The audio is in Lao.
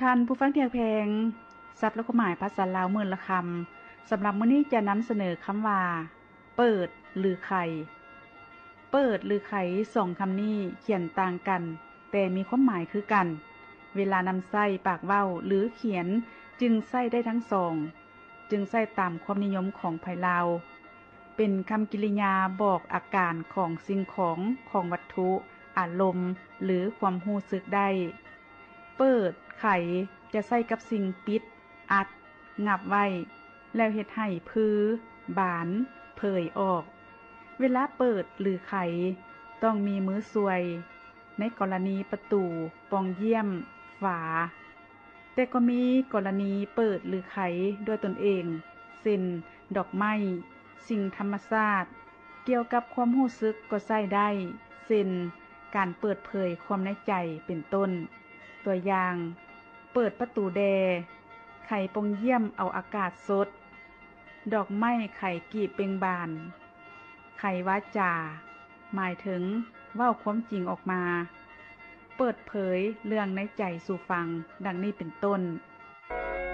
ທ່ານຜູ້ຟັງທີ່ຮັກແພງ, ສັບ ແລະ ຄວາມໝາຍພາສາລາວມື້ລະຄຳ ສຳລັບມື້ນີ້ຈະນຳສະເໜີຄຳວ່າ ເປີດ ຫຼື ໄຂ. ເປີດ ຫຼື ໄຂ ສອງຄຳນີ້ຂຽນຕ່າງກັນ ແຕ່ມີຄວາມໝາຍຄືກັນ. ເວລານຳໃຊ້ປາກເວົ້າ ຫຼື ຂຽນ ຈຶ່ງໃຊ້ໄດ້ທັງສອງ, ຈຶ່ງໃຊ້ຕາມຄວາມນິຍົມຂອງໃຜລາວ. ເປັນຄຳກິລິຍາບອກອາການຂອງສິ່ງຂອງ, ຂອງວັດຖຸ, ອາລົມ ຫຼື ຄວາມຮູ້ສຶກໄດ້. ເປີດ ໄຂ ຈະໃຊ້ກັບສິ່ງປິດ, ອັດ, ງັບໄວ້ ແລ້ວເຮັດໃຫ້ຜື, ບານ, ເຜີຍອອກ. ເວລາເປີດ ຫຼື ໄຂ ຕ້ອງມີມືຊ່ວຍ ໃນກໍລະນີປະຕູ, ປ່ອງຢ້ຽມ, ຝາ. ແຕ່ກໍມີກໍລະນີເປີດ ຫຼື ໄຂດ້ວຍຕົນເອງ ເຊັ່ນ ດອກໄມ້, ສິ່ງທຳມະຊາດ. ກ່ຽວກັບຄວາມຮູ້ສຶກກໍໃຊ້ໄດ້ ເຊັ່ນ ການເປີດເຜີຍຄວາມໃນໃຈ ເປັນຕົ້ນ. ຕົວຢ່າງ, ເປີດປະຕູແດ່, ໄຂປ່ອງຢ້ຽມເອົາອາກາດສົດ, ດອກໄມ້ໄຂກີບເປັ່ງບານ, ໄຂວາຈາ ໝາຍເຖິງເວົ້າຄວາມຈິງອອກມາ, ເປີດເຜີຍເລື່ອງໃນໃຈສູ່ຟັງ, ດັ່ງນີ້ເປັນຕົ້ນ.